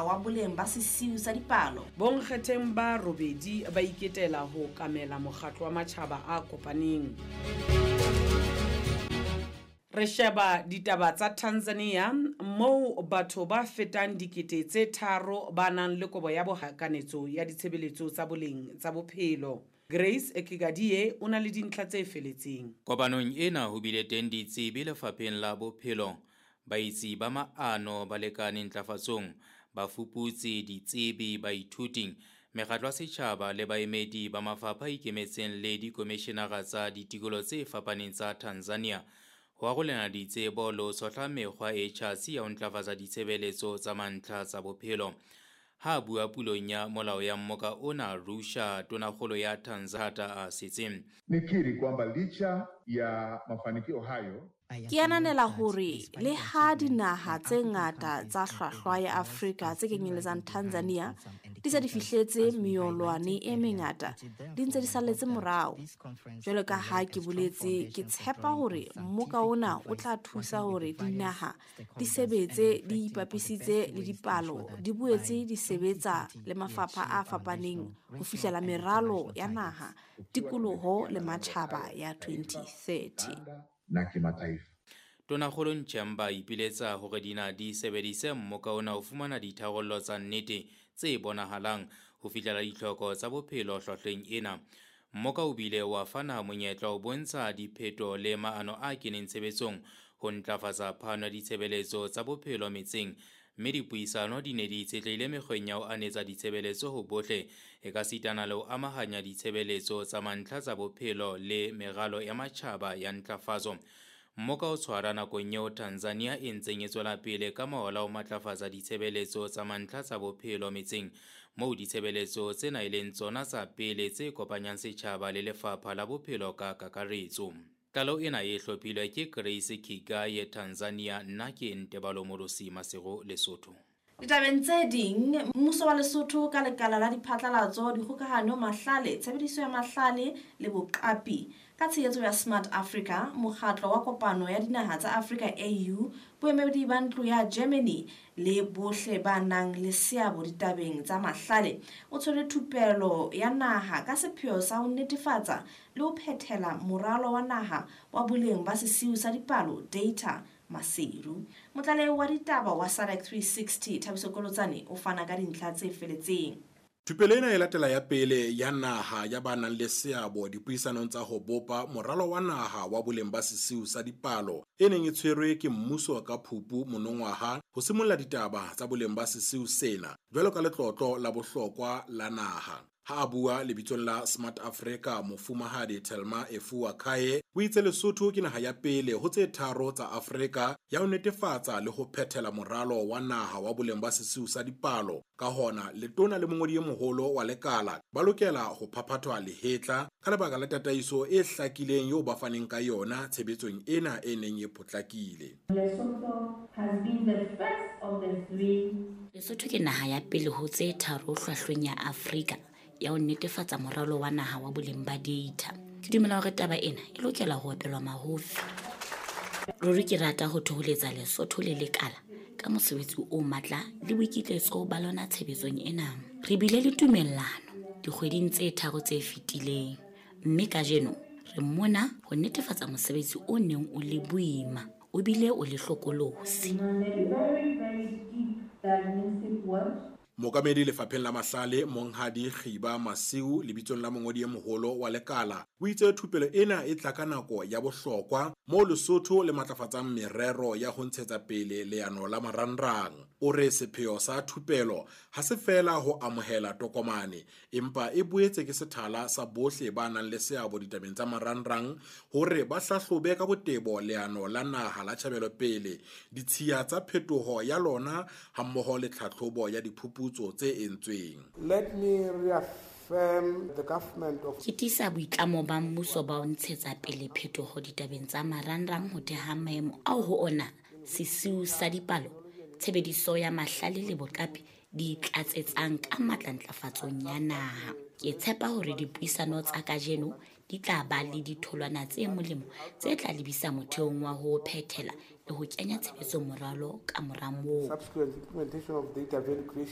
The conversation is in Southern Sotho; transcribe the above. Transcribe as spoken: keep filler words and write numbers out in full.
Naha wa Boleng ba Sesiu sa Dipalo. Bonkgetheng ba robedi ba iketela ho okamela Mokgatlo wa Matjhaba a Kopaneng. Re sheba ditaba tsa Tanzania moo batho ba fetang dikete tse tharo ba nang le kobo ya bohakanetso ya ditshebeletso tsa boleng tsa bophelo. Grace Ekigadie o na le dintlha tse feletseng. Kopanong ena ho bile teng ditsebi lefapheng la bophelo, baitsi ba maano balekane ntlafatsong, bafuputsi, ditsebi, baithuti, mekgatlo ya setjhaba le baemedi ba mafapha a ikemetseng le dikomishenara tsa ditikoloho tse fapaneng tsa Tanzania ho arolelana ditsebo le ho tshohla mekgwa e tjhatsi ya ho ntlafatsa ditshebeletso tsa mantlha tsa bophelo. Ha a bua pulong ya molao ya mmoka ona Arusha, tonakgolo ya Tanzania a setseng. Nikiri kwamba licha ya mafanikio hayo, Ke ananela hore le ha dinaha tse ngata tsa hlwahlwa ya Afrika tse kenyeletsang Tanzania di se di fihletse meolwane e mengata, di ntse di salletse morao. Jwalo ka ha ke boletse, ke tshepa hore mmoka ona o tla thusa hore dinaha di sebetse di ipapisitse le dipalo, di boetse di sebetsa le mafapha a fapaneng ho fihlela meralo ya naha, tikoloho le matjhaba ya twenty thirty. Na kimataifa. Tonakgolo Nchemba ipiletsa hore dinaha di sebedise mmoka ona ho fumana ditharollo tsa nnete tse bonahalang ho fihlela ditlhoko tsa bophelo hlwahlweng ena. Mmoka o bile wa fana monyetla ho bontsha dipheto le maano a keneng tshebetsong ho ntlafatsa phano ya ditshebeletso tsa bophelo metseng, mme dipuisano di ne di itshetlehile mekgweng ya ho anetsa ditshebeletso ho bohle, ekasitana le ho amahanya ditshebeletso tsa mantlha tsa bophelo le meralo ya matjhaba ya ntlafatso. Mmoka o tshwara nakong eo Tanzania e ntseng e tswela pele ka maola ho matlafatsa ditshebeletso tsa mantlha tsa bophelo metseng, moo ditshebeletso tsena e leng tsona tsa pele tse kopanyang setjhaba le lefapha la bophelo ka kakaretso. Tlaleho ena e hlophilwe ke Grace Kigaye, Tanzania. Nna ke Ntebalo Morosi, Maseru, Lesotho. Ditabeng tse ding, mmuso wa Lesotho ka lekala la diphatlalatso, dikgokahano, mahlale, tshebediso ya mahlale le boqapi ka tshehetso ya Smart Africa, mokgatlo wa kopano ya dinaha tsa Afrika A U, boemedi ba ntlo ya Germany le bohle ba nang le seabo ditabeng tsa mahlale, o tshwere thupelo ya naha ka sepheo sa ho netefatsa le ho phethela moralo wa naha wa boleng ba sesiu sa dipalo data Maseru. Motlalehi wa ditaba wa SADC three sixty Thabiso Kolotsane o fana ka dintlha tse feletseng. Thupelo ena e latela ya pele ya naha ya ba nang le seabo dipuisanong tsa ho bopa moralo wa naha wa boleng ba sesiu sa dipalo e neng e tshwerwe ke mmuso ka Phupu monongwaha ho simolla ditaba tsa boleng ba sesiu sena jwalo ka letlotlo la bohlokwa la naha. Ha a bua lebitsong la Smart Africa, mofumahadi Thelma Efua Kaye o itse Lesotho ke naha ya pele ho tse tharo tsa Afrika ya ho netefatsa le ho phethela moralo wa naha wa boleng ba sesiu sa dipalo. Ka hona, letona le mongodi e moholo wa lekala ba lokela ho phaphathwa lehetla ka lebaka la tataiso e hlakileng eo ba faneng ka yona tshebetsong ena e neng e potlakile. Lesotho has been the first of the three. Lesotho ke naha ya pele ho tse tharo hlwahlweng ya Afrika ya ho netefatsa moralo wa naha wa boleng ba data. Ke dumela hore taba ena e lokela ho opelwa mahofi. Ruri ke rata ho thoholetsa Lesotho le lekala ka mosebetsi o matla le boikitlaetso ba lona tshebetsong ena. Re bile le tumellano dikgweding tse tharo tse fetileng, mme kajeno re mona ho netefatsa mosebetsi o neng o le boima o bile o le hlokolosi. Very, very deep diagnostic work. Mookamedi lefapheng la mahlale Monghadi Kgiba Masiu lebitsong la mongodi e moholo wa lekala o itse thupelo ena e tla ka nako ya bohlokwa moo Lesotho le matlafatsang merero ya ho ntshetsa pele leano la marangrang. O re sepheo sa thupelo ha se feela ho amohela tokomane, empa e boetse ke sethala sa bohle ba nang le seabo ditabeng tsa marangrang hore ba hlahlobe ka botebo leano la naha la tjhabelopele, ditshiya tsa phetoho ya lona hammoho le tlhahlobo ya diphuputso tse entsweng. Let me reaffirm the government of Ke tiisa boitlamo ba mmuso ba ho ntshetsa pele phetoho ditabeng tsa marangrang ho theha maemo ao ho ona sesiu sa dipalo, tshebediso ya mahlale le boqapi di tlatsetsang ka matla ntlafatsong ya naha. Ke tshepa hore dipuisano tsa kajeno di tla ba le ditholwana tse molemo tse tla lebisa motheong wa ho phethela le ho kenya tshebetsong moralo ka mora moo. Subsequent implementation of data value creation.